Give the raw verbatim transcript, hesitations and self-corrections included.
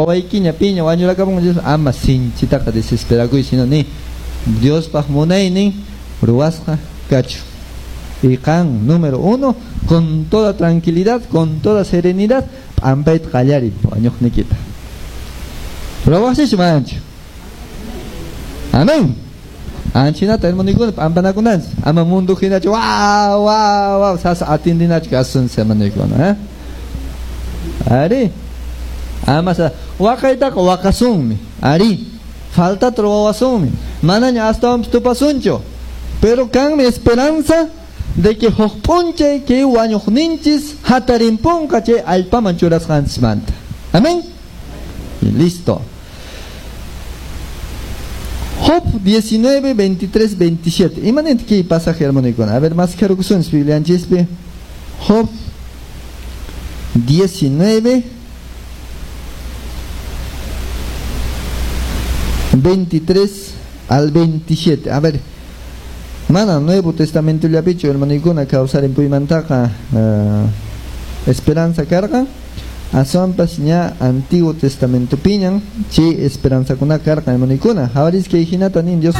Wawaykiña piña wañurakapun ama sinchitaqa desesperakuy, sino ni Diospaq munaynin ruwasqa kachu. Y qan, número uno, con toda tranquilidad, con toda serenidad, p'ampayta qallariy wañuqniykita. Ruwaqsichu manachu? Amén. Anchinata hermanokuna p'ampanakunanchis. Ama mundo hinachu wa wa wa sasa atindinachu kasunchis hermanokuna, eh? Ari. Ama sa waqaytaqa waqasunmi. Ari. Faltata ruwawasunmi. Manaña astawanpis tupasunchu. Pero kanmi esperanza de que huk p'unchay kay wañuqninchis hatarimpunqa chay allpaman churasqanchismanta. Amén. Y listo. Job diecinueve, veintitrés, veintisiete. Imanint kay pasaje hermanokuna. A ver, más kharukusunchis Biblianchispi. Job diecinueve, veintitrés al veintisiete. A ver, mana Nuevo Testamento llapichu hermanokuna kawsarimpuymantaka uh, esperanza karqa. Aswanpas ña Antiguo Testamento piñan chay esperanzakuna karqa hermanokuna. Hawaris kay hinata nin Dios